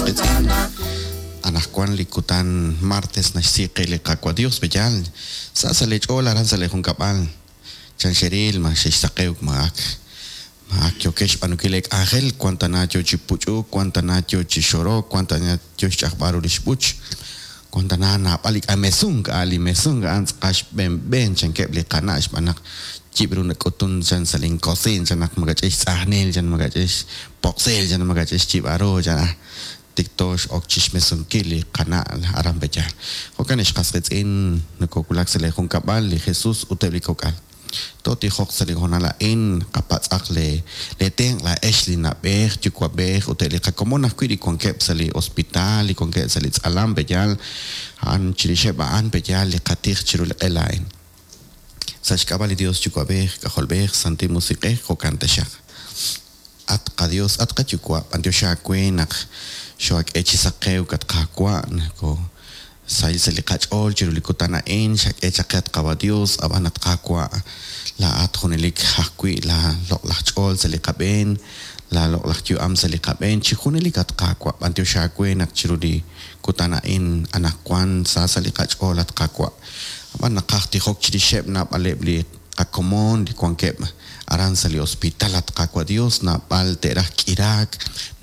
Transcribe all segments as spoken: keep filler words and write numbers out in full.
qiitz'in. Anaqwan li kutan martes naxsi qe li Qaawa' Dios b'eyal sa' sa' li ch'ool aran sa' li junkab'al chan xeril ma xe'xsaqewk ma ak ma ak yokex b'aanunkil li k'anjel wan tana yo chi puch'uk wan tana yo chi xorok wan tana yo xch'ajb'al ru li xb'uch wan tana naab'al li k'amesunk a' li mesunk a'an tz'aqal xb'enb'en chankeb' li qana' xb'aan naq yib' ru nak'utun chan sa' linkosiin chan naq makach'ix tz'ajnil chan makach'ix poqsil chan makach'ix yib'aru chan ah tikto x'ok chixmesunkil li qana' aran b'eyal. Jo'kan ixqas qiitz'in nakowulak sa' li junkab'al li Jesus ut eb' li kok'al. Totijoq sa' li hoonal a'in qapatz'aq le le tenq' laa'ex li na'b'ej yuwa'b'ej ut eb' li qakomon ajwi' li wankeb' sa' li hospital li wankeb' sa' li tz'alam b'eyal a'an chirixeb' a'an b'eyal li qatij chiru li q'el a'in. Sa' xk'ab'a' li Dios yuwa'b'ej k'ajolb'ej Santil Musiq'ej jo'kan taxaq. At qaDios at qayuwa' b'antiox aawe naq xoak'e chi saqewk at Qaawa' nako sahil sa' li qach'ool chiru li kutan a'in xak'e chaq qe at Qaawa' Dios ab'an at Qaawa' laa'at junelik ajwi' la loq'laj ch'ool sa' li qab'een la loq'laj yu'am sa' li qab'een chi junelik at Qaawa' b'antiox aawe naq chiru li kutan a'in anaqwan sa sa' li qach'ool at Qaawa' ab'an naqaj tijok chirixeb' naab'aleb' li qakomon li wankeb' aran sa' li hospital at Qaawa' Dios naab'al te'raj k'iraak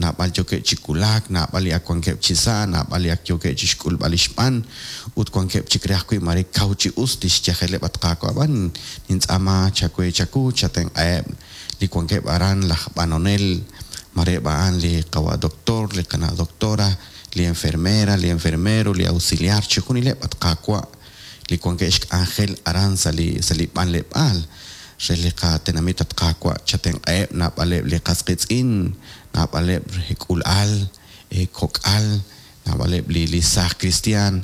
naab'al yookeb' chi wulak naab'al li ak wankeb' chi sa' naab'al li ak yookeb' chi xk'ulb'al li xb'an ut wankeb' chik re ajwi' mare kaw chi us li xyajeleb' at Qaawa' ab'an nintz'aama chawe chaku chatenq'aheb' li wankeb' aran laj b'anonel mare a'an li qawa' doctor li qana' doctora li enfermera li enfermero li auxiliar chi junileb' at Qaawa' li wankeb' xk'anjel aran sa' li sa' li b'anleb'aal re li qatenamit at Qaawa' chatenq'aheb' naab'aleb' li qas qiitz'in naab'aleb' k'ulal kok'al naab'aleb' li li saaj cristian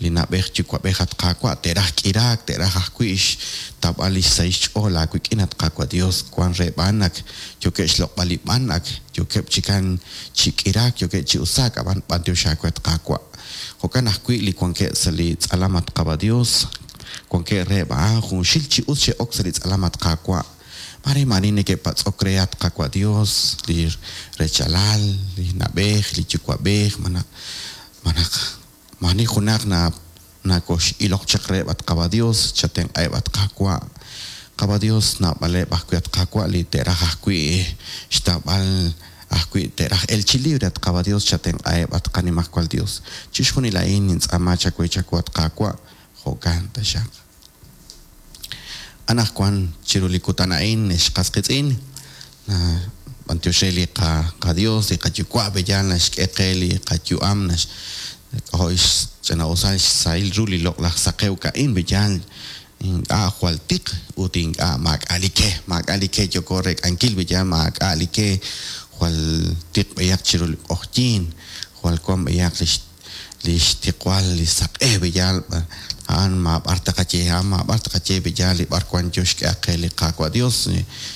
li na'b'ej yuwa'b'ej at Qaawa' te'raj k'iraak te'raj ajwi' xtawb'al li xsahil xch'ool aawik'in at Qaawa' Dios wan re b'an ak yookeb' xloq'b'al li b'an ak yookeb' chikan chi k'iraak yookeb' chi usaak ab'an b'antiox aawe at Qaawa' jo'kan ajwi' li wankeb' sa' li tz'alam at Qaawa' Dios wankeb' re a'an junxil chi us xe'ok sa' li tz'alam at Qaawa' mare mani neke'patz'ok re at Qaawa' Dios li rechalal li na'b'ej li yuwa'b'ej manaq manaq mani junaq na nakox'iloq chaq reheb' at Qaawa' Dios chatenq'aheb' at Qaawa' Qaawa' Dios naab'aleb' ajwi' at Qaawa' li te'raj ajwi' xtawb'al ajwi' te'raj el chi libre at Qaawa' Dios chatenq'aheb' at qanimajwal Dios chixjunil a'in nintz'aama chawe chaku at Qaawa' jo'kan taxaq. Anaqwan chiru li kutan a'in xqas qiitz'in b'antiox re li qa Dios li qayuwa' b'eyal naxk'e qe li qayu'am nax k'ojo'x ch'ina'usal xsahil ru li loq'laj saqewk a'in b'eyal ink'a' jwal tiq ut ink'a' maak'a' li ke maak'a' li ke yooko rek'ankil b'eyal maak'a' li ke jwal tiq b'eyaq chiru li q'oqyiin jwal wan b'eyaq li li xtiqwal li saq'e b'eyal a'an maab'ar taqaye a'an maab'ar taqaye b'eyal li b'ar wan yo xk'e qe li Qaawa' Dios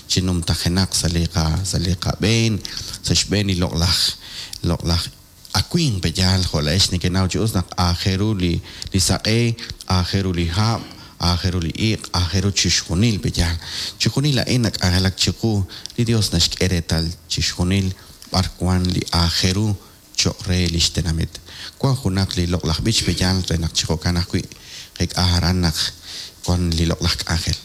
chi numtajenaq sa' li qa sa' li qab'een sa' xb'een li loq'laj loq'laj awinq b'eyal jo' la'ex nekenaw chi us naq aajel ru li li saq'e aajel ru li hab' aajel ru li iq' aajel ru chixjunil b'eyal chixjunil a'in nak'anjelak chiqu li Dios naxk'e reetal chixjunil b'ar wan li aajel ru cho'q re li xtenamit wan junaq li loq'laj b'ich b'eyal re naq chi jo'kan ajwi' qek'a aran naq wan li loq'laj k'anjel.